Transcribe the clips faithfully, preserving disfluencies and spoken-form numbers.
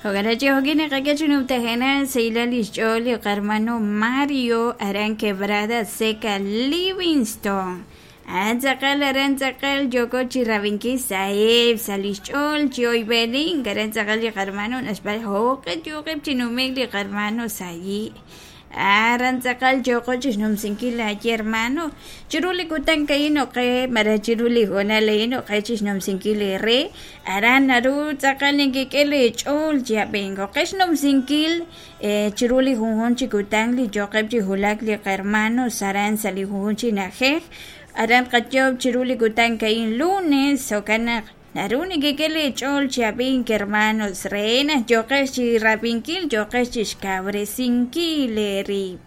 Jo'kan chi jo'kin naqak'e chi numtajenaq sahilal lix ch'ool li qarmano Mario aran Quebrada Seca Livingston. An tz'aqal aran tz'aqal yooko chi rab'inkil sa'eb' sa' lix ch'ool chi oyb'enin aran tz'aqal li qarmano naxb'al jo'q'e yoqeb' chi numek li qarmano sayi' aran tz'aqal yooko chixnumsinkil laaye hermano chiru li kutan ka'in oqe malaj chiru li hoonal a'in oqe chixnumsinkil re aran naru tz'aqal ninkik'e li ch'ool chi ab'ink oqe xnumsinkil chiru li junjun chi kutan li yoqeb' chi wulak li qarmanos aran sa' li junjun chi na'ajej aran qayob' chiru li kutan ka'in lunes jo'kan naq naru nikik'e li ch'ool chi ab'ink hermanos re naq yoqex chi rab'inkil yoqex chixkawresinkil eerib'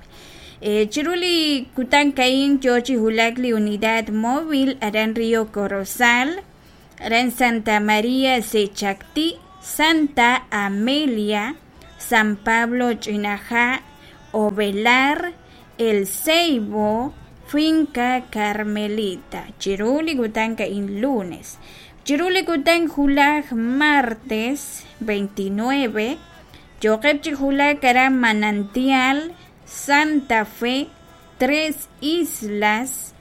chiru li kutan ka'in yoo chi wulak li unidad móvil aran Río Corozal aran Santa María Sechactí Santa Amelia San Pablo Ch'inaja' Ovelar El Ceibo Finca Carmelita chiru li kutan ka'in lunes chiru li kutan julaj martes veintinueve yoqeb' chi wulak aran Manantial Santa Fe Tres Islas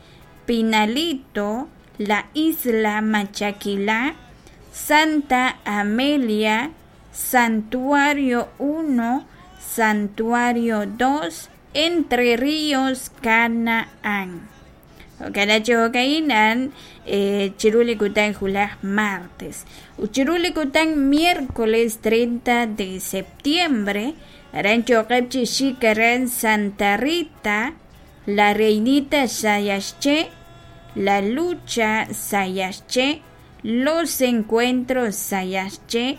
Pinalito La Isla Machaquilá Santa Amelia Santuario uno Santuario dos Entre Ríos Canaán jo'kan chi jo'ka'in a'an chiru li kutan julaj martes ut chiru li kutan miércoles treinta de septiembre aran yoqeb' chi xik aran Santa Rita La Reinita Sayaxché La Lucha Sayaxché Los Encuentros Sayaxché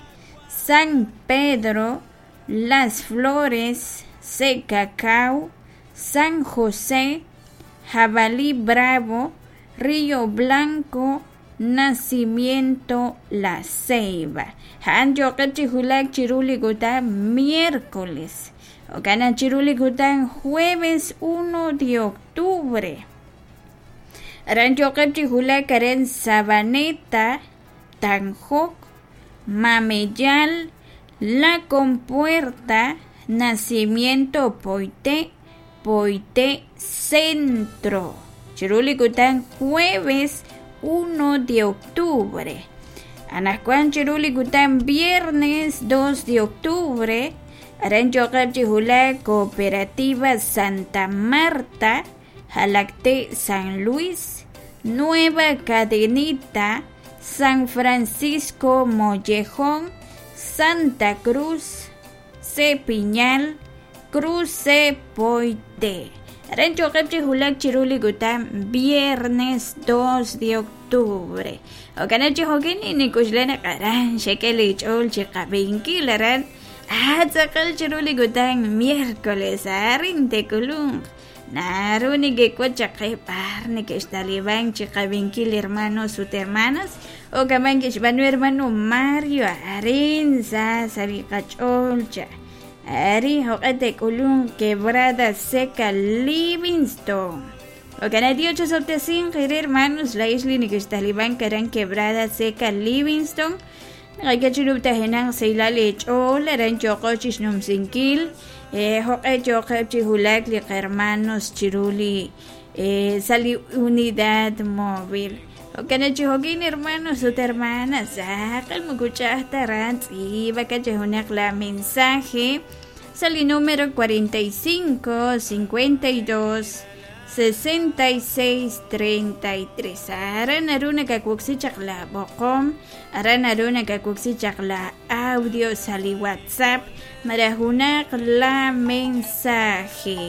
San Pedro Las Flores Secacao San José Jabalí Bravo Río Blanco Nacimiento La Ceiba ja'an yoqeb' chi wulak chiru li kutan miércoles jo'kan naq chiru li kutan jueves uno de octubre aran yoqeb' chi wulak aran Sabaneta Tanjok Mameyal La Compuerta Nacimiento Poité Poité Centro chiru li kutan jueves uno de octubre anaqwan chiru li kutan viernes dos de octubre aran yoqeb' chi wulak Cooperativa Santa Marta Jalacté San Luis Nueva Cadenita San Francisco Mollejón Santa Cruz Cepiñal Cruce Poité aran yoqeb' chi wulak chiru li kutan viernes dos de octubre jo'kan chi jo'kin nik'uxla naq aran xek'e li ch'ool chi qab'inkil aran ah tz'aqal chiru li kutan miércoles arin tekulunq naru nikek'ut chaq qe b'ar neke'xtaliban chi qab'inkil hermanos ut hermanas o kaman kixb'aanu hermano Mario arin sa sa' li qach'ool cha ari jo'q'e tek'ulun Quebrada Seca Livingston jo'kan Dios chosob'tesinq ire hermanos la ix li neke'xtaliban aran Quebrada Seca Livingston naqak'e chi numtajenaq sahilal li ch'ool aran yoqo chixnumsinkil jo'q'e yoqeb' chi wulak li qarmanos chiru li sa' li unidad móvil jo'kan chi jo'kin hermanos ut hermanas saqal moko ch'a'aj ta aran tz'iib'aka chi junaq la mensaje sa' li número cuarenta y cinco cincuenta y dos sesenta y seis treinta y tres aran naru nakawoksi chaq la b'oqom aran naru nakawoksi chaq la audio sa' li WhatsApp malaj junaq la mensaje.